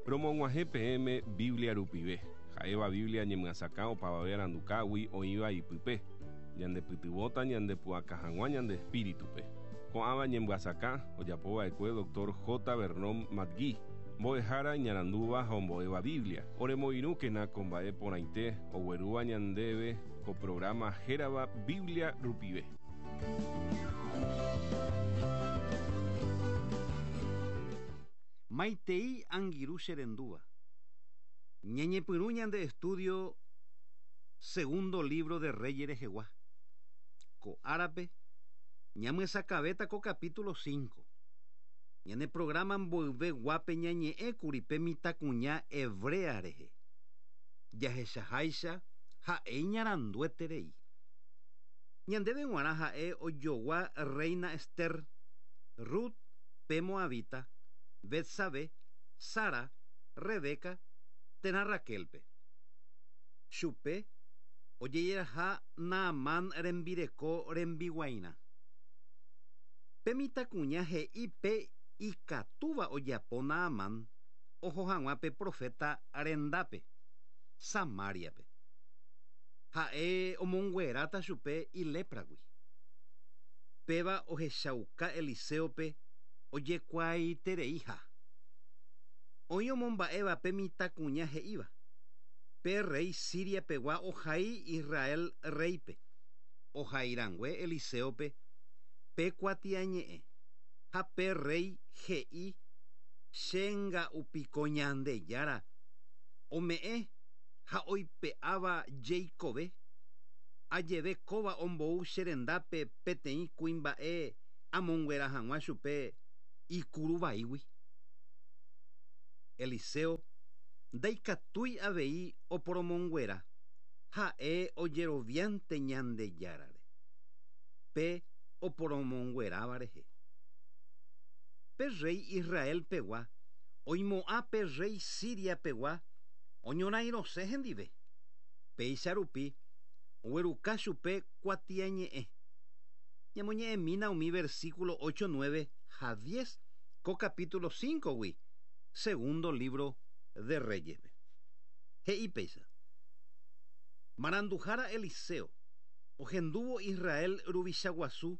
Romog̃uahẽ peẽme Biblia rupive, ha'éva Biblia ñemyasakã opavave arandukágui oĩva ipype, ñandepytyvõta ñandepu'aka hag̃ua ñande espíritupe. Ko'ãva ñemyasakã ojapova'ekue Dr. J. Vernon McGee, mbo'ehára iñarandúva ha ombo'éva Biblia. Oremoirũkena ko mba'e porãite oguerúva ñandéve ko programa hérava Biblia rupive. Maitei angirũ che rendúva. Ñañepyrũ ñande estudio Segundo libro de Reyes rehegua. Ko árape ñamyesakãvéta ko capítulo 5. Ñane programa mboyve guápe ñañe'ẽkuri pe mitãkuña hebrea rehe. Jahechaháicha ha'e iñarandueterei. Ñandéve g̃uarã ha'e ojogua reina Ester, Rut pe moabita, Betsabé, Sara, Rebeca térã Raquel-pe. Chupe ojejeraha Naamán rembireko rembiguairã. Pe mitãkuña he'i pe ikatúva ojapo Naamán oho hag̃ua pe proféta rendápe, Samáriape. Ha'e omongueráta chupe ilépragui. Péva ohechauka Eliséope ojekuaaitereiha. Oĩ omomba'éva pe mitãkuña he'íva, Pe rréi Siria pegua ohai Israel rréipe, ohai rangue Eliséope pe kuatiañe'ẽ, ha pe rréi he'i, Che nga'u piko Ñandejára ome'ẽ ha oipe'áva jeikove, ajeve kóva ombou che rendápe peteĩ kuimba'e amonguera hag̃ua chupe ikuru vaígui. Eliseo ndaikatúi avei oporomonguera, ha'e ojeroviánte Ñandejárare, pe oporomongueráva rehe. Pe rréi Israel pegua oimo'ã pe rréi Siria pegua oñorairõse hendive. Péicha rupi ogueruka chupe kuatiañe'ẽ. Ñamoñe'ẽmína umi versículo 8, 9 ha 10 ko capítulo 5-gui, Segundo libro de Reyes-pe. He'i péicha, Maranduhára Eliseo, ohendúvo Israel ruvicha guasu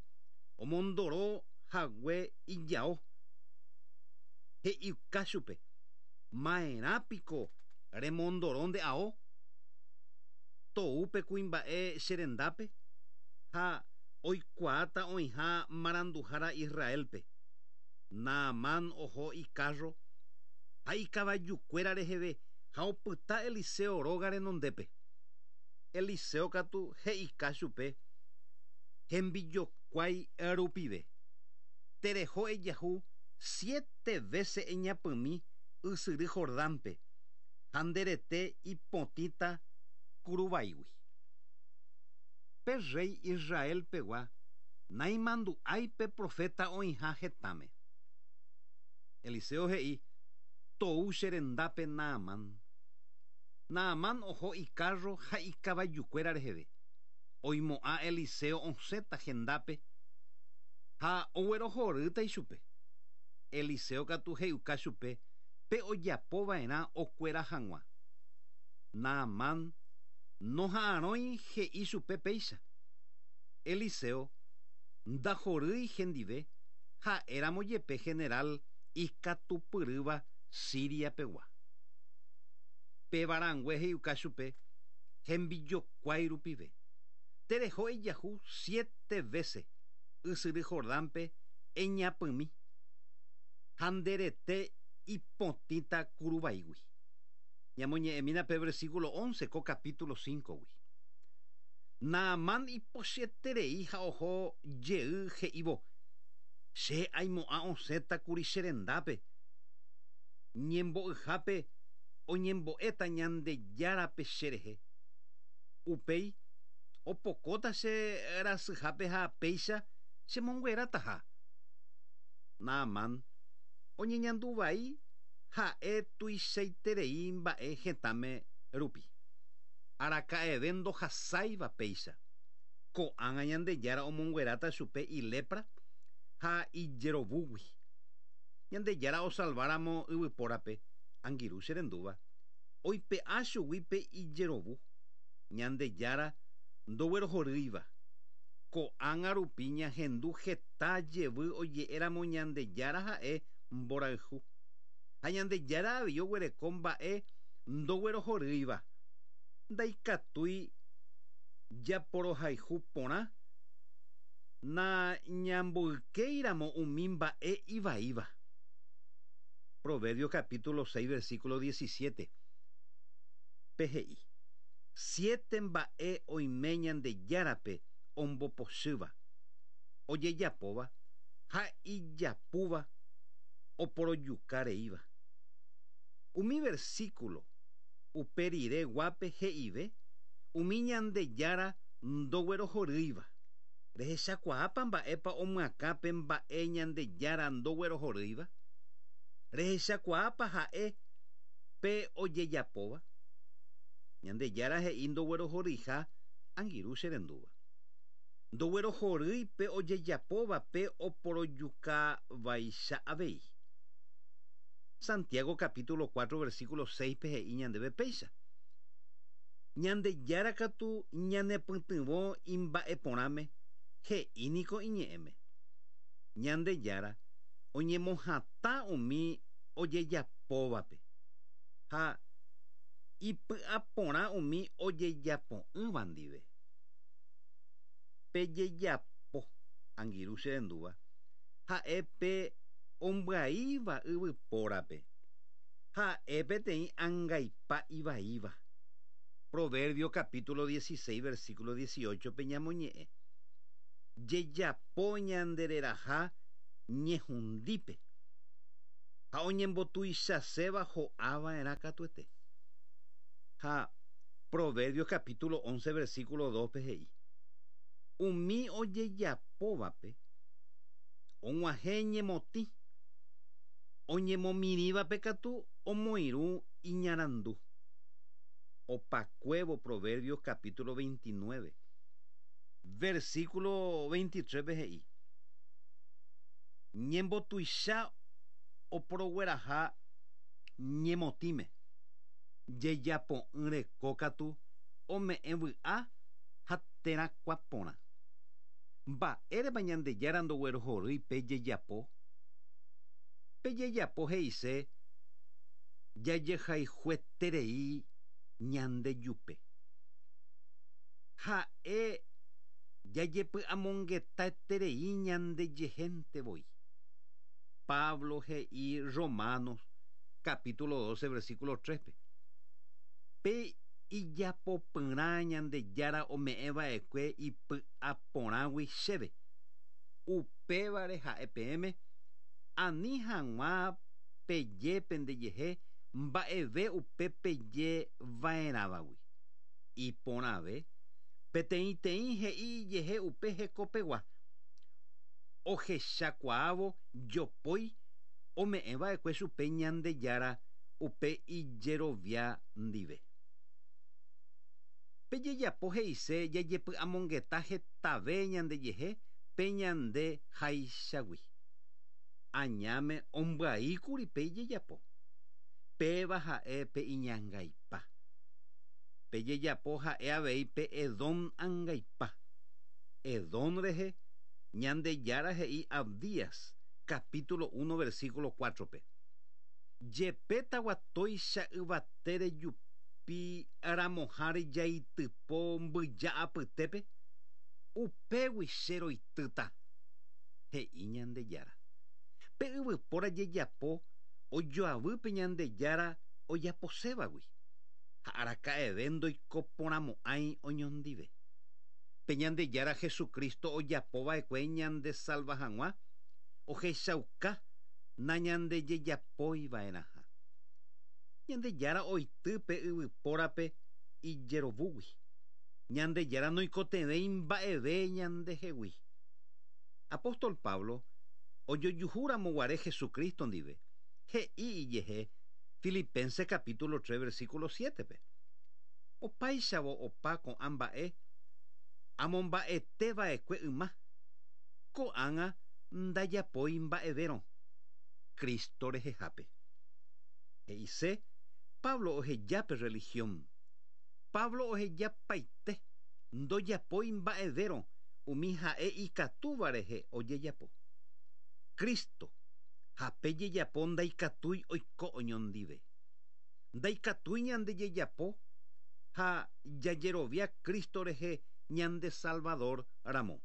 omondoro hague ijao, he'iuka chupe, Maerã piko remondoro nde ao? Tou pe kuimba'e che rendápe ha oikuaáta oĩha maranduhára Israélpe. Naamán oho ikárro ha ikavajukuéra reheve ha opyta Eliseo róga renondépe. Eliseo katu he'ika chupe hembijokuái rupive, Tereho ejahu siete vése eñapymi ysyry Jordánpe, ha nde rete ipotĩta kuruvaígui. Pe rréi Israel pegua naimandu'ái pe proféta oĩha hetãme. Eliseo he'i, Tou che rendápe Naamán. Naamán oho ikárro ha ikavajukuéra reheve. Oimo'ã Eliseo osẽta hendápe ha oguerohorýta ichupe. Eliseo katu he'iuka chupe pe ojapo va'erã okuera hag̃ua. Naamán noha'arõi he'i chupe péicha. Eliseo ndahorýi hendive ha'éramo jepe general ikatupyrýva Siria pegua. Péva rangue he'iuka chupe hembijokuái rupive, Tereho ejahu siete vése ysyry Jordánpe eñapymi, ha nde rete ipotĩta kuruvaígui. Ñamoñe'ẽmína pe versículo 11 ko capítulo 5-gui. Naamán ipochyeterei ha oho jey he'ívo, Che aimo'ã osẽta kuri che rendápe. Ñembo'yhápe oñembo'éta Ñandejárape che rehe. Upéi opokóta che rasyhápe ha péicha chemonguerataha. Naamán oñeñandu vai ha'e tuichaiterei mba'e hetãme rupi. Araka'eve ndohasáiva péicha. Ko'ág̃a Ñandejára omongueráta chupe ilepra ha ijerovúgui. Ñandejára osalváramo yvypórape, Angirũ che rendúva, oipe'a chugui pe ijerovu, Ñandejára ndoguerohorýiva. Ko'ág̃a rupi ñahendu heta jevy oje'éramo Ñandejára ha'e mborayhu. Ha Ñandejára avei oguereko mba'e ndoguerohorýiva. Ndaikatúi japorohayhu porã nañamboykéiramo umi mba'e ivaíva. Proverbios capítulo 6 versículo 17 pe he'i, Siete mba'e oime Ñandejárape ombopochýva, ojejapóva ha ijapúva oporojuka reíva. Umi versículo upe rire guápe he'ive umi Ñandejára ndoguerohorýiva. Rehechakuaápa mba'épa omyakã pe mba'e Ñandejára ndoguerohorýiva? Rehechakuaápa ha'e pe ojejapóva? Ñandejára he'i ndoguerohoryiha angirũ che rendúva. Ndoguerohorýi pe ojejapóva pe oporojuka vaicha avei. Santiago capítulo 4 versículo 6-pe he'i ñandéve péicha, Ñandejára katu ñanepytyvõ imba'eporãme, he'i niko iñe'ẽme. Ñandejára oñemohatã umi ojejapóvape, ha ipy'aporã umi ojejapo'ỹva ndive. Pejejapo, angirũ che rendúva, ha'e pe ombyaíva yvypórape. Ha'e peteĩ angaipa ivaíva. Proverbio capítulo 16 versículo 18 pe ñamoñe'ẽ, Jejapo ñande reraha ñehundípe, ha oñembotuichaséva ho'a va'erã katuete. Ha Proverbios capítulo 11 versículo 2 pe he'i, Umi ojejapóvape og̃uahẽ ñemotĩ, Oñemomirĩvape katu omoirũ iñarandu. Opakuévo Proverbios capítulo 29, versículo 23-pe he'i, Ñembotuicha oporogueraha ñemotĩme, jejapo'ỹ reko katu ome'ẽ vy'a ha terakuã porã. Mba'érepa Ñandejára ndoguerohorýi pe jejapo? Pe jejapo he'ise jajehayhueterei ñandejupe. Ha'e jajepy'amongetaeterei ñandejehénte voi. Pablo he'i Romanos capítulo 12 versículo 3-pe, Pe ijapopyrã Ñandejára ome'ẽ va'ekue ipy'aporãgui chéve, Upévare ha'e peẽme, ani hag̃ua peje pendejehe mba'eve upe peje va'erãvagui. Iporãve, peteĩteĩ he'i ijehe upe hekopegua, ohechakuaávo jopói ome'ẽ va'ekue chupe Ñandejára upe ijerovia ndive. Pe jejapo he'ise jajepy'amongeta hetave ñandejehe pe ñande háichagui. Añáme ombyaíkuri pe ijejapo. Péva ha'e pe iñangaipa. Pe jejapo ha'e avei pe Edom angaipa. Edom rehe, Ñandejára he'i Abdías, capítulo uno versículo cuátrope, Jepe taguatóicha yvate rejupi ramoháre jaitypo mbyja apytépe, upégui che roitýta, he'i Ñandejára. Pe yvypóra jejapo ojoavy pe Ñandejára ojaposévagui, ha araka'eve ndoikoporãmo'ãi oñondive. Pe Ñandejára Jesucristo ojapo va'ekue ñandesalva hag̃ua ohechauka nañandejejapói va'erãha. Ñandejára oity pe yvypórape ijerovúgui. Ñandejára noikotevẽi mba'eve ñandehegui. Apóstol Pablo ojojuhúramo guare Jesucristo ndive, he'i ijehe Filipenses capítulo 3 versículo 7-pe, Opáichavo opa ko'ã mba'e amomba'ete va'ekue yma, ko'ág̃a ndajapói mba'evérõ Cristo rehehápe. He'ise, Pablo oheja pe religión. Pablo ohejapaite, ndojapói mba'evérõ umi ha'e ikatúva rehe ojejapo. Cristo ha pe jejapo ndaikatúi oiko oñondive. Ndaikatúi ñande jejapo ha jajerovia Cristo rehe ñande Salvador ramo.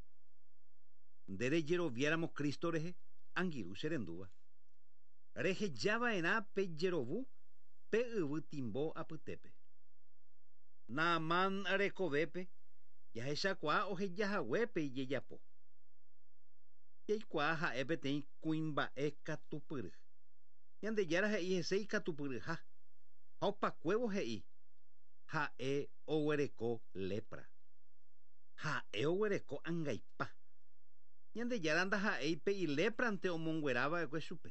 Nde rejeroviáramo Cristo rehe, angirũ che rendúva. Rehejava'erã pe jerovu pe yvy timbo apytépe. Naamán rekovépe jahechakuaa ohejahague pe ijejapo. Jaikuaa ha'e peteĩ kuimba'e katupyry. Ñandejára he'i hese ikatupyryha, ha opakuévo he'i, Ha'e oguereko lepra. Ha'e oguereko angaipa. Ñandejára ndaha'éi pe iléprante omonguera va'ekue chupe,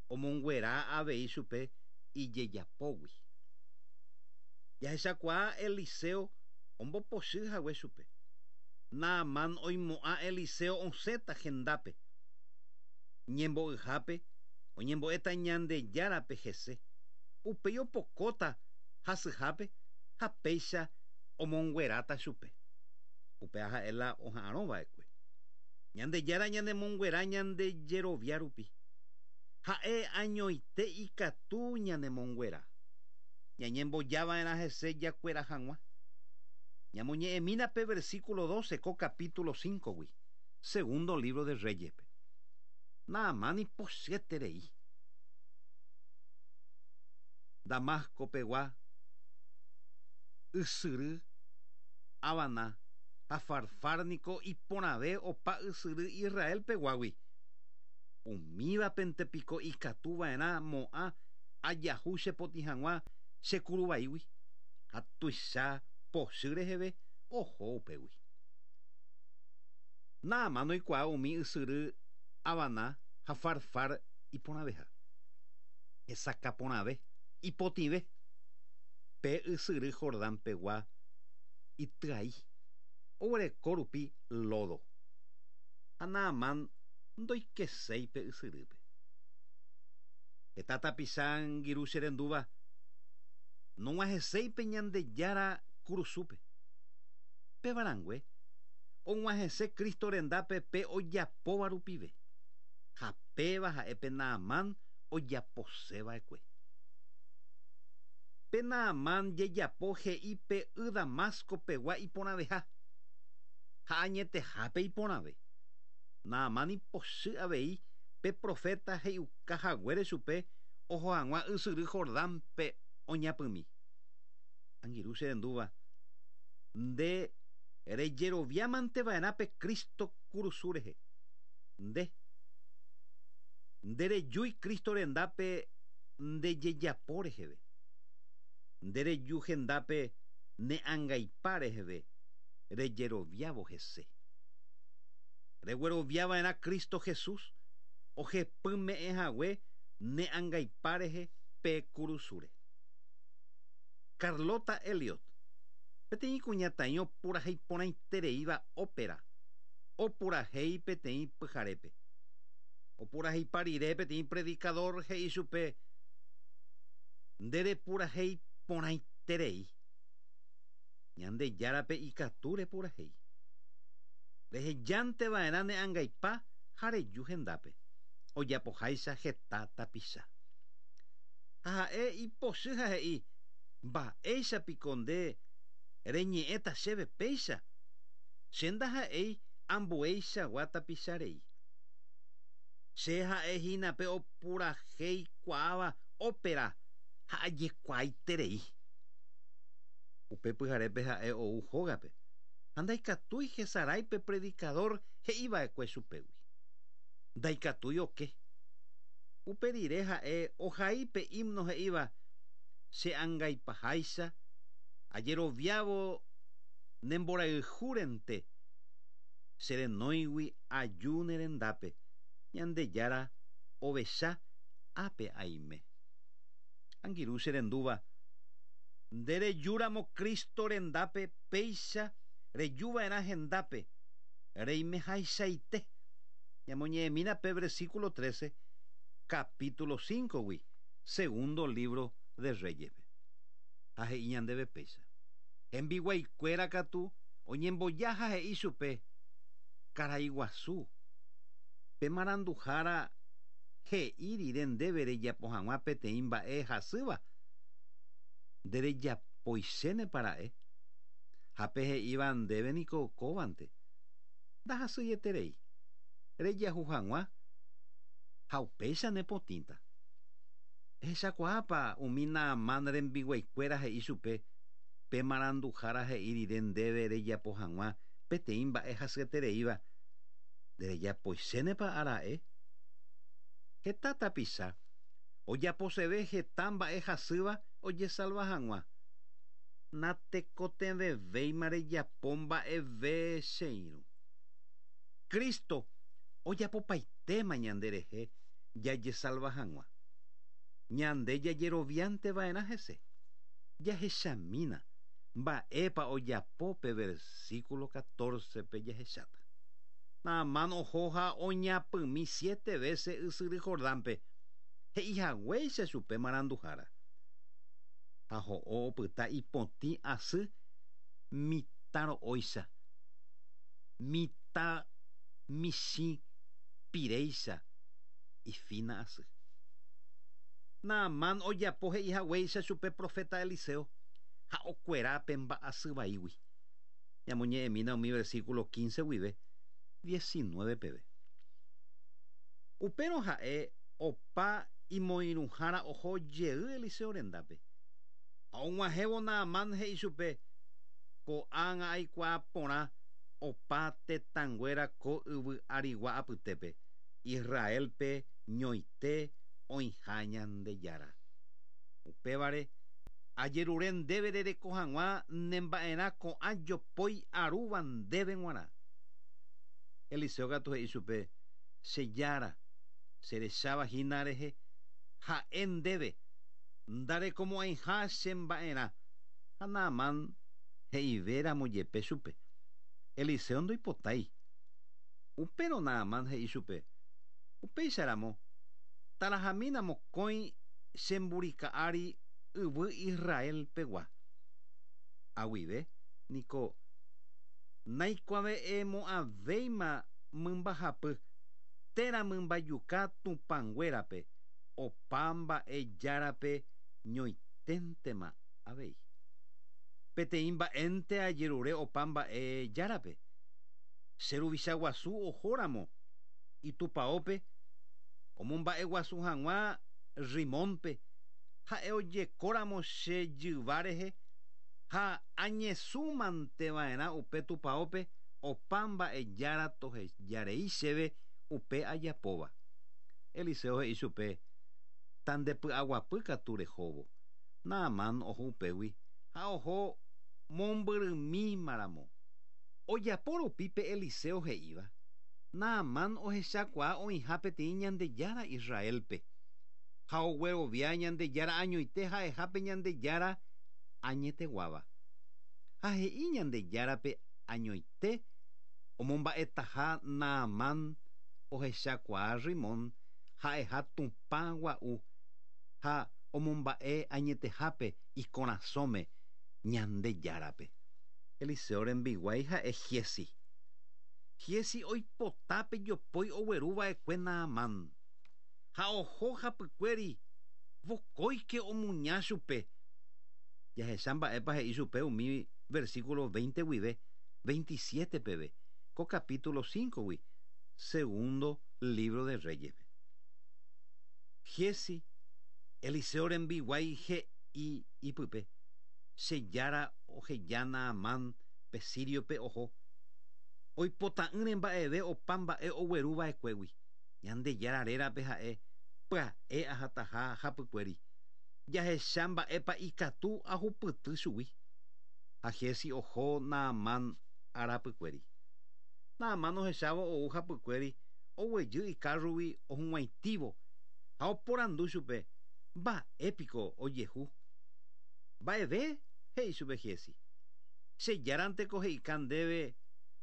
omonguera avei chupe ijejapógui. Jahechakuaa Eliseo ombopochy hague chupe. Naamán oimo'ã Eliseo osẽta hendápe. Ñembo'yhápe oñembo'éta Ñandejárape hese, upéi opokóta hasyhápe ha péicha omongueráta chupe. Upéva ha'e la oha'arõ va'ekue. Ñandejára ñanemonguera ñande jerovia rupi. Ha'e añoite ikatu ñanemonguera. Ñañemboja va'erã hese jakuera hag̃ua. Ñamoñe'ẽmína pe versículo 12 ko capítulo 5-gui, segundo libro de Reyes-pe. Naamán ipochyeterei. Damasco pegua ysyry Abana ha Farfar niko iporãve opa ysyry Israel peguágui. Umívapente piko ikatu va'erã mo'ã ajahu che potĩ hag̃ua che kuru vaígui, ha tuicha pochy reheve oho upégui. Naamán oikuaa umi ysyry Abana ha Farfar iporãveha. Hesakã porãve, ipotĩve. Pe ysyry Jordán pegua ityai, oguereko rupi lódo. Ha Naamán ndoikeséi pe ysyrýpe. Heta tapicha angirũ che rendúva nog̃uahẽséi pe Ñandejára kurusúpe. Péva rangue, og̃uahẽse Cristo rendápe pe ojapóva rupive, ha péva ha'e pe Naamán ojapose va'ekue. Pe Naamán jejapo he'i pe y Damasco pegua iporãveha, ha añetehápe iporãve. Naamán ipochy avei pe proféta he'iuka haguére chupe oho hag̃ua ysyry Jordánpe oñapymi. Angirũ che rendúva, nde rejeroviámante va'erã pe Cristo kurusu rehe. Nde. Nderejúi Cristo rendápe nde jejapo reheve. Nde reju hendápe ne angaipa reheve rejeroviávo hese. Reguerovia va'erã Cristo Jesús ohepyme'ẽ hague ne angaipa rehe pe kurusúre. Carlota Elliot, peteĩ kuñataĩ opurahéi porãitereíva ópera, opurahéi peteĩ pyharépe. Opuraheipa rire peteĩ predikadór he'i chupe, Nde repurahéi porãiterei. Ñandejárape ikatu repurahéi. Rehejánte va'erã ne angaipa ha reju hendápe, ojapoháicha heta tapicha. Ha ha'e ipochy ha he'i, Mba'éicha piko nde reñe'ẽta chéve péicha? Che ndaha'éi ambueichagua tapicha rei. Che ha'e hína pe opurahéikuaáva ópera ha ajekuaaiterei. Upe pyharépe ha'e ou hógape ha ndaikatúi hesarái pe predikadór he'i va'ekue chupégui. Ndaikatúi oke. Upe rire ha'e ohai pe himno he'íva Che angaipaháicha ajeroviávo ne mborayhúrente Che renóigui aju ne rendápe, Ñandejára ovecha ápe aime. Angirũ che rendúva, nde reju ramo Cristo rendápe péicha reju va'erã hendápe, reimehaichaite. Ñamoñe'ẽmína pe versículo 13, capítulo 5-gui, Segundo libro de Reyes-pe. Ha he'i ñandéve péicha. Hembiguaikuéra katu oñemboja ha he'i chupe, Karai guasu, pe maranduhára he'i rire ndéve rejapo hag̃ua peteĩ mba'e hasýva, nderejapoichénepa ra'e? Ha pe he'íva ndéve niko kóvante, ndahasyieterei, rejahu hag̃ua ha upéicha nepotĩta. Ehechakuaápa umi Naamán rembiguaikuéra he'i chupe, Pe maranduhára he'i rire ndéve rejapo hag̃ua peteĩ mba'e hasyetereíva, nderejapoichénepa ara'e? Heta tapicha ojaposeve heta mba'e hasýva ojesalva hag̃ua. Natekotevẽvéima rejapo mba'eve che irũ. Cristo ojapopaitéma ñanderehe jajesalva hag̃ua. Ñande jajeroviánte va'erã hese. Jahechamína mba'épa ojapo pe versíkulo catorce-pe jahecháta. Naamán oho ha oñapymi siete vése ysyry Jordánpe, he'i haguéicha chupe maranduhára. Ha ho'o opyta ipotĩ asy mitã ro'óicha, mitã michĩ piréicha ifína asy. Naamán ojapo he'i haguéicha chupe proféta Eliseo ha okuera pe mba'asy vaígui. Ñamoñe'ẽmína umi versíkulo 15 guive 19 peve. Upérõ ha'e opa imoirũhára oho jey Eliseo rendápe. Ha og̃uahẽvo Naamán he'i chupe, Ko'ág̃a aikuaa porã opa tetãnguéra ko yvy arigua apytépe, Israélpe ñoite oĩha Ñandejára. Upévare, ajerure ndéve rereko hag̃ua ne mba'erã ko'ã jopói arúva ndéve g̃uarã. Eliseo katu he'i chupe, Che Jára, che recháva hína rehe, ha'e ndéve, ndarekomo'ãiha che mba'erã. Ha Naamán he'ive ramo jepe chupe, Eliseo ndoipotái. Upérõ Naamán he'i chupe, Upéicha ramo, tarahamína mokõi che mburika ári yvy Israel pegua. Aguive niko naikuave'ẽmo'ãvéima mymbahapy térã mymbajuka tupã nguérape, opa mba'e járape ñoiténtema avei. Peteĩ mba'énte ajerure opa mba'e járape, che ruvicha guasu ohóramo itupaópe omomba'eguasu hag̃ua Rimónpe, ha'e ojekóramo che jyva rehe ha añesũmanteva'erã upe tupaópe opa mba'e jára tohejarei chéve upe ajapóva. Eliseo he'i chupe, Tandepy'aguapy katu rehóvo. Naamán oho upégui ha oho mombyrymímaramo. Ojapo rupi pe Eliseo he'íva, Naamán ohechakuaa oĩha peteĩ Ñandejára Israélpe, ha oguerovia Ñandejára añoite ha'eha pe Ñandejára añeteguáva. Ha he'i Ñandejárape añoite omomba'etaha Naamán ohechakuaa Rimón ha'eha Tupã gua'u ha omomba'e añetehápe ikorasõme Ñandejárape. Eliseo rembiguái ha'e Giezi. Giezi oipota pe jopói ogueru va'ekue Naamán. Ha oho hapykuéri vokóike omuña chupe. Jahecha mba'épa he'i chupe umi versículo 20 guive 27 peve ko capítulo 5-gui Segundo libro de Reyes-pe. Giezi, Eliseo rembiguái he'i ipype, Che Jára oheja Naamán pe síriope oho, oipota'ỹre mba'eve opa mba'e ogueru va'ekuégui. Ñandejára rérape ha'e pya'e ahataha hapykuéri, jahecha mba'épa ikatu ahupyty chugui. Ha Giezi oho Naamán arapykuéri. Naamán ohechávo ou hapykuéri oguejy ikárrogui ohug̃uaitĩvo ha oporandu chupe, Mba'e piko ojehu? Mba'eve, he'i chupe Giezi. Che Járanteko he'ika ndéve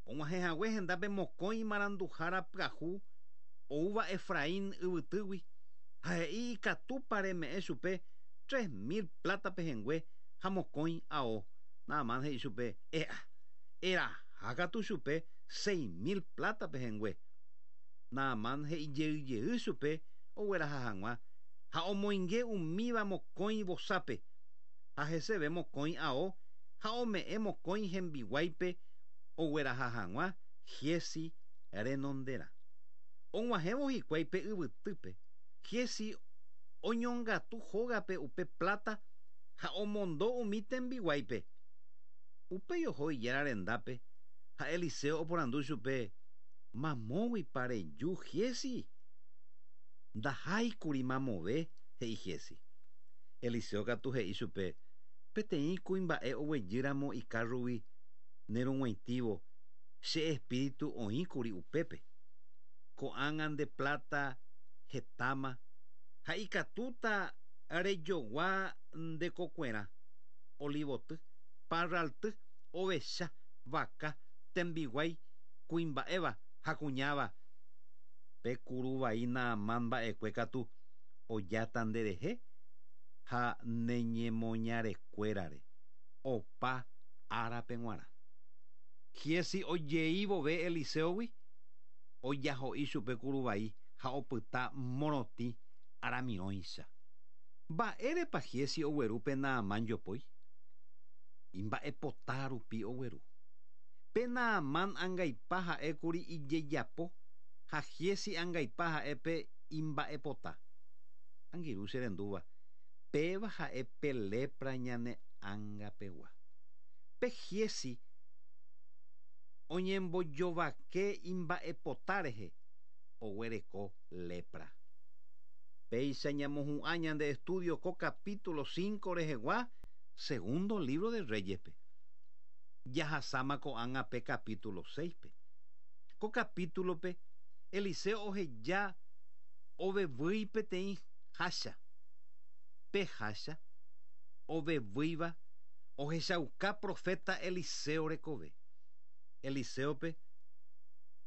og̃uahẽ hague hendápe mokõi maranduhára pyahu oúva Efraín yvytýgui. Ha he'i ikatúpa reme'ẽ chupe 3000 pláta pehẽngue ha mokõi ao. Naamán he'i chupe, E'a, eraha katu chupe 6000 pláta pehẽngue. Naamán he'i jey jey chupe ogueraha hag̃ua ha omoinge umíva mokõi vosápe, ha heseve mokõi ao ha ome'ẽ mokõi hembiguáipe ogueraha hag̃ua Giezi renonderã. Og̃uahẽvo hikuái pe yvytýpe, Giezi oñongatu hógape upe pláta ha omondo umi tembiguáipe. Upéi oho ijára rendápe ha Eliseo oporandu chupe, Mamóguipa reju Giezi? Ndaháikuri mamove, he'i Giezi. Eliseo katu he'i chupe, Peteĩ kuimba'e oguejýramo ikárrogui nerug̃uaitĩvo, che espíritu oĩkuri upépe. Ko'ág̃a nde pláta hetáma ha ikatúta rejogua nde kokuerã, olivoty, parralty, ovecha, vaka, tembiguái, kuimba'éva ha kuñáva. Pe kuru vai Naamán mba'ekue katu ojáta nderehe ha ne ñemoñarekuérare opa árape g̃uarã. Giezi ojei vove Eliséogui, ojaho'i chupe kuru vai ha opyta morotĩ aramirõicha. Mba'érepa Giezi ogueru pe Naamán jopói? Imba'epota rupi ogueru. Pe Naamán angaipa ha'ékuri ijejapo ha Giezi angaipa ha'e pe imba'epota. Angirũ che rendúva, péva ha'e pe lepra ñane ãngapegua. Pe Giezi oñembojovake imba'epota rehe oguereko lepra. Péicha ñamohu'ã ñande estudio ko capítulo 5 rehegua Segundo libro de Reyes-pe. Jahasáma ko'ág̃a pe capítulo 6-pe. Ko capítulo-pe Eliseo oheja ovevýi peteĩ hácha. Pe hácha ovevýiva ohechauka proféta Eliseo rekove. Eliséope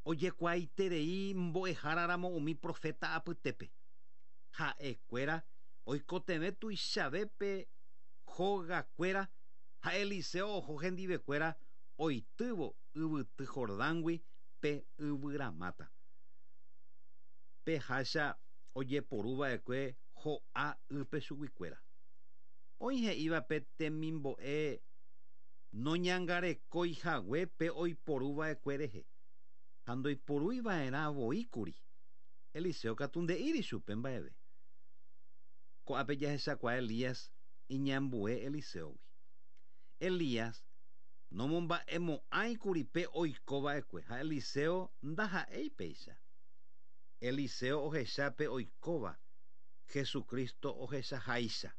ojekuaaiterei mbo'eháraramo umi proféta apytépe. Ha'ekuéra oikotevẽ tuichave pe hógakuéra ha Eliseo oho hendivekuéra oitývo yvyty Jordángui pe yvyramáta. Pe hácha ojeporu va'ekue ho'a ýpe chuguikuéra. Oĩ he'íva pe temimbo'e noñangarekói hague pe oiporu va'ekue rehe, ha ndoiporúi va'erã voi kuri. Eliseo katu nde'íri chupe mba'eve. Ko'ápe jahechakuaa Elías iñambue Eliséogui. Elías nomomba'emo'ãi kuri pe oiko va'ekue ha Eliseo ndaha'éi péicha. Eliseo ohecha pe oikóva, Jesucristo ohechaháicha.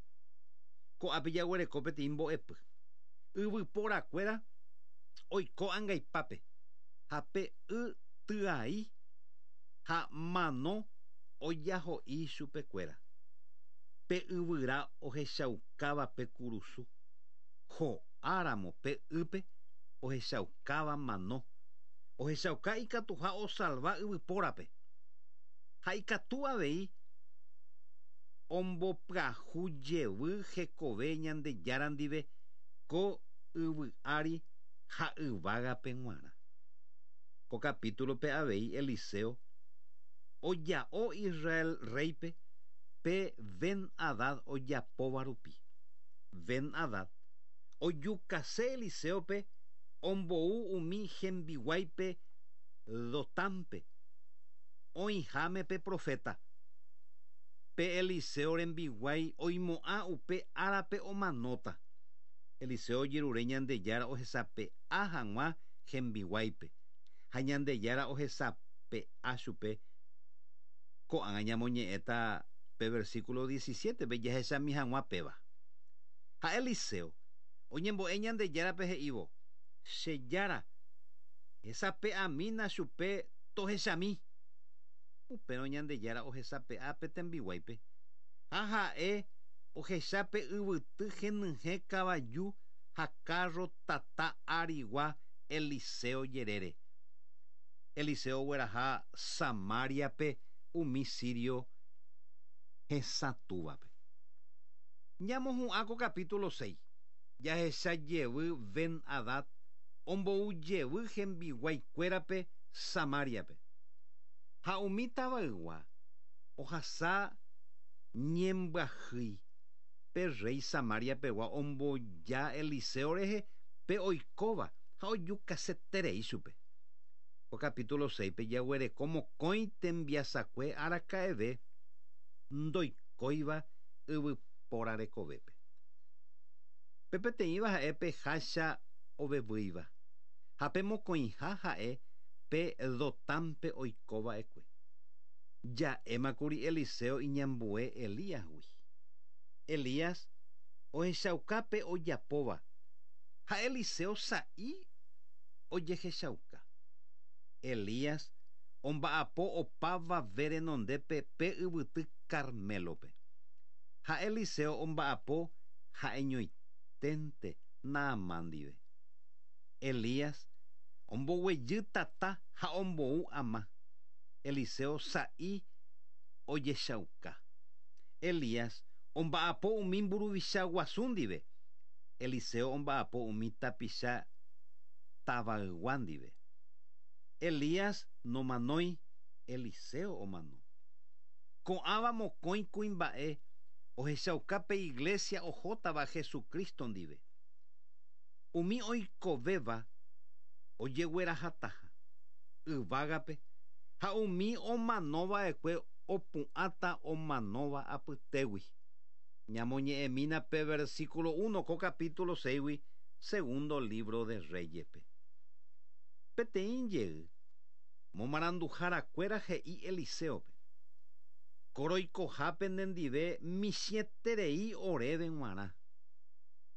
Ko'ápe jaguereko peteĩ mbo'epy. Yvyporakuéra oiko angaipápe ha pe y tyai ha mano ojaho'i chupekuéra. Pe yvyra ohechaukáva pe kurusu, ho'áramo pe ýpe ohechaukáva mano, ohechauka ikatuha osalva yvypórape. Ha ikatu avei ombopyahu jevy hekove Ñandejára ndive ko yvy ári ha yvágape g̃uarã. Ko capítulo-pe avei Eliseo oja'o Israel rréipe pe Ben-Hadad ojapóva rupi. Ben-Hadad ojukase Eliséope ombou umi hembiguáipe Dotánpe, oĩháme pe proféta. Pe Eliseo rembiguái oimo'ã upe árape omanóta. Eliseo ojerure Ñandejára ohesape'a hag̃ua hembiguáipe, ha Ñandejára ohesape'a chupe. Ko'ág̃a ñamoñe'ẽta pe versículo 17-pe jahechami hag̃ua péva. Ha Eliseo oñembo'e Ñandejárape he'ívo, Che Jára, hesape'amína chupe tohechami. Upérõ Ñandejára ohesape'a pe tembiguáipe, ha ha'e ohecha pe yvyty henyhẽ kavaju ha kárro tata arigua Eliseo jerére. Eliseo ogueraha Samáriape umi sírio. Hesatũvape. Ñamohu'ã ko capítulo 6. Jahecha jevy Ben-Hadad ombou jevy hembiguaikuérape Samariape. Ha umi tavaygua ohasa ñembyahýi pe rey Samariapegua omboja Eliseo rehe pe oikóva ha ojukaseterei chupe. Ko capítulo 6-pe jaguereko mokõi tembiasakue araka'eve ndoikóiva yvypóra rekovépe. Pe peteĩva ha'e pe hácha ovevýiva ha pe mokõiha ha'e pe Dotánpe oikova'ekue. Ja'émakuri Eliseo iñambue Elíasgui. Elías ohechauka pe ojapóva ha Eliseo sa'i ojehechauka. Elías omba'apo opavave renondépe pe yvyty Carmélope. Ha Eliseo omba'apo ha'eñoiténte Naamán ndive. Elías omboguejy tata ha ombou ama. Eliseo sa'i ojechauka. Elías omba'apo umi mburuvicha guasu ndive. Eliseo omba'apo umi tapicha tavaygua ndive. Elías nomanói, Eliseo omano. Ko'ãva mokõi kuimba'e ohechauka pe iglesia ohótava Jesucristo ndive. Umi oikovéva ojeguerahataha yvágape ha umi omanova'ekue opu'ãta omanóva apytégui. Ñamoñe'ẽmína pe versículo 1 ko capítulo 6-gui segundo libro de Reyespe. Peteĩ jey momaranduharakuéra he'i Eliseope. Koroikohápe nendive michĩeterei oréve g̃uarã.